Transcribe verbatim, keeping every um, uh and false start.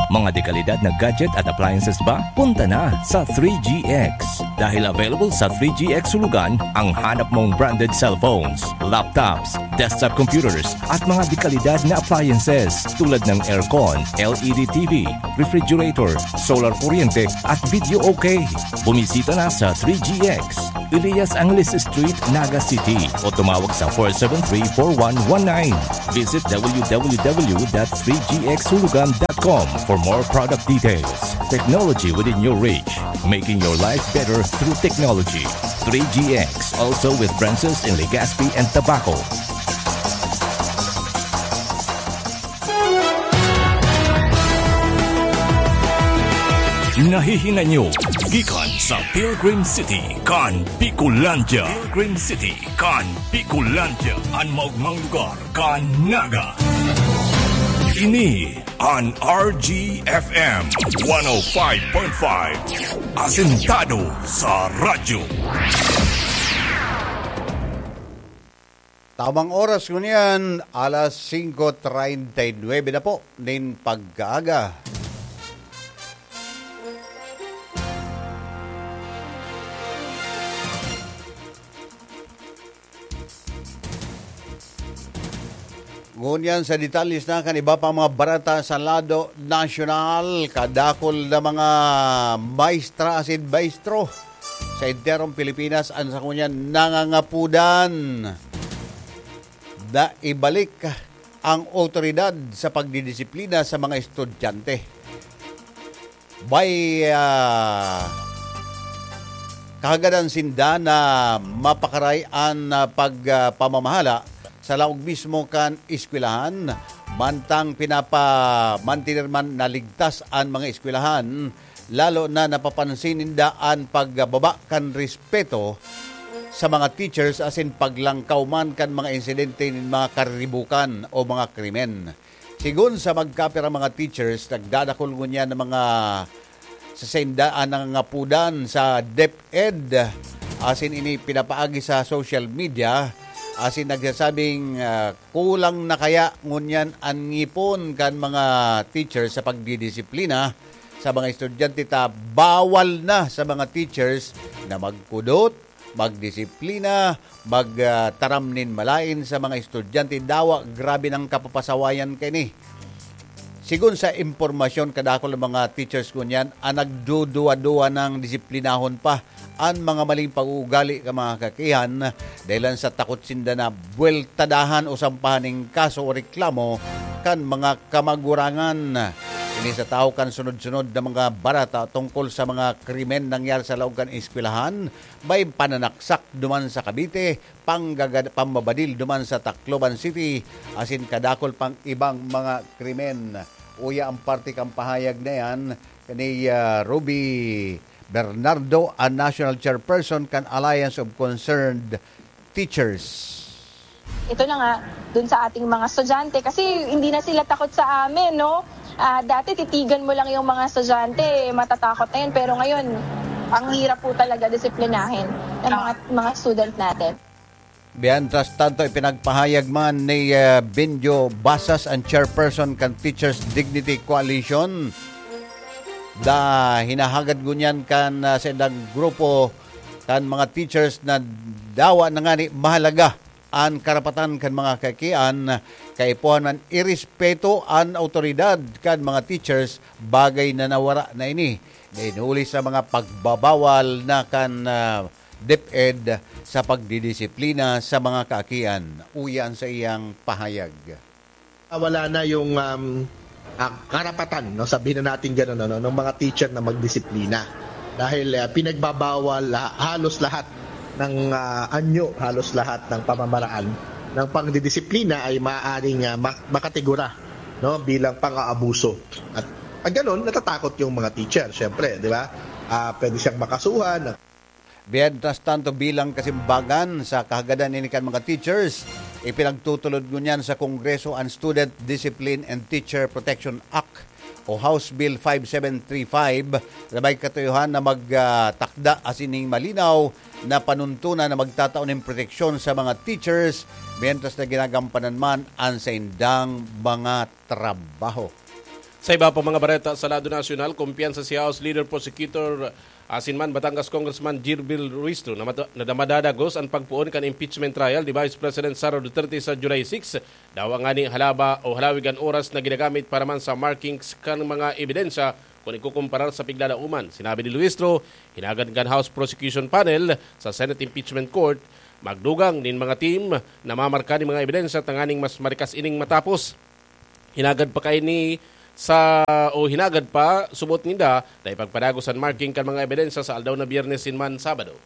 Mga dekalidad na gadget at appliances ba? Punta na sa three G X. Dahil available sa three G X Hulugan ang hanap mong branded cellphones, laptops, desktop computers, at mga dekalidad na appliances tulad ng aircon, L E D T V, refrigerator, solar kuryente, at video okay. Bumisita na sa three G X, Elias Angeles Street, Naga City, o tumawag sa four seven three, four one one nine. Visit w w w dot three g x hulugan dot com for more product details. Technology within your reach, making your life better through technology. Three G X, also with branches in Legazpi and Tabaco. Nahihinay nyo gikan sa Pilgrim City kan Bicolandia. Pilgrim City kan Bicolandia, an maogmang lugar kan Naga. Ini an R G F M one oh five point five, asentado sa radyo. Tamang oras ngunyan, alas singko treinta y nuebe na po nin pagkaaga. Ngunyan sa detalles na kan iba pang mga barata sa lado nasyonal, kadakul na mga maestra asin maestro sa enterong Pilipinas an sa ngunyan nangangapudan na ibalik ang awtoridad sa pagdidisiplina sa mga estudyante. May, ah, kahagadan sinda na mapakaray an, ah, pag, ah, pamamahala sa laog mismo kan eskwelahan, mantang pinapamantener man na ligtas an mga eskwelahan, lalo na napapansin ninda an pagbaba kan respeto sa mga teachers asin paglangkaw man kan mga insidente nin mga kariribukan o mga krimen. Sigon sa magkapirang mga teachers, nagdadakul ngunyan ng mga sasaindaan ng ngapudan sa DepEd, asin ini pinapaagi sa social media, asin nagsasabing, ah, kulang na kaya ngunyan an ngipon kan mga teachers sa pagdidisiplina sa mga estudyante, ta bawal na sa mga teachers na magkudot, magdisiplina, mag, ah, taram nin malaen sa mga estudyante. Dawa, grabe nang kapapasawayan kaini. Sigon sa impormasyon, kadakul ang mga teachers ngunyan an nagduduwa-duwa nang disiplinahon pa an mga maling pag-uugali kan mga kakihan, dahelan sa takot sinda na buweltadahan o sampahan nin kaso o reklamo kan mga kamagurangan. Ini sa tahaw kan sunod-sunod na mga barata tungkol sa mga krimen nangyari sa laog kan eskwelahan, may pananaksak duman sa Cavite, panggagad-, pambabadil duman sa Tacloban City, asin kadakul pang ibang mga krimen. Uya ang parte kan pahayag na yan ni, ah, Ruby Bernardo, ang National Chairperson kan Alliance of Concerned Teachers. Ito na nga, dun sa ating mga estudyante, kasi hindi na sila takot sa amin, no? Ah, dati titigan mo lang yung mga estudyante, matatakot na yun. Pero ngayon, ang hirap po talaga disiplinahin ng mga, mga student natin. Mientras tanto, ipinagpahayag man ni, ah, Benjo Basas, ang chairperson kan Teachers Dignity Coalition, da hinahagad ngunyan kan, ah, sa indang grupo kan mga teachers na dawa na ngani mahalaga an karapatan kan mga kakian, kaipuhan man irespeto an awtoridad kan mga teachers, bagay na nawara na ini. Nainuli sa mga pagbabawal na kan, ah, DepEd sa pagdidisiplina sa mga kaakian. Uya an saiyang pahayag. Ah, wala na yung, um, ah, karapatan, no, sabihin na natin ganun, ano, ng mga teacher na magdisiplina. Dahil, ah, pinagbabawal la-, halos lahat ng, ah, anyo, halos lahat ng pamamaraan ng pagdidisiplina ay maaaring, ah, ma-, makategora, no, bilang pang-aabuso. At, at ganun, natatakot yung mga teacher, syempre, di ba? Ah, pwede siyang makasuhan. Mientras tanto, bilang kasimbagan sa kahagadan ini kan mga teachers, ipinagtutulod ngunyan sa Kongreso an Student Discipline and Teacher Protection Act o House Bill five seven three five, na may katuyohan na magtakda asin ning malinaw na panuntunan na magtatao nin proteksyon sa mga teachers mientras na ginagampanan man an saindang mga trabaho. Sa iba pa mga bareta sa lado nasyonal, kumpiyansa si House Leader Prosecutor asin man Batangas Congressman Jirbil Ruistro na, mad- na madadagos an pagpoon kan impeachment trial ni Vice President Sara Duterte sa July six. Dawa ngani halaba o halawig an oras na ginagamit para man sa markings kan mga ebidensya kun ikukumparar sa piglalauman. Sinabi ni Luistro, hinagan kan House Prosecution Panel sa Senate Impeachment Court magdugang nin mga team na mamarka nin mga ebidensya tanganing mas marikas ining matapos. Hinagad pa kaini sa, o hinagad pa, subot ninda na ipagpadagos an marking kan mga ebidensya sa aldaw na Biyernes sin man Sabado.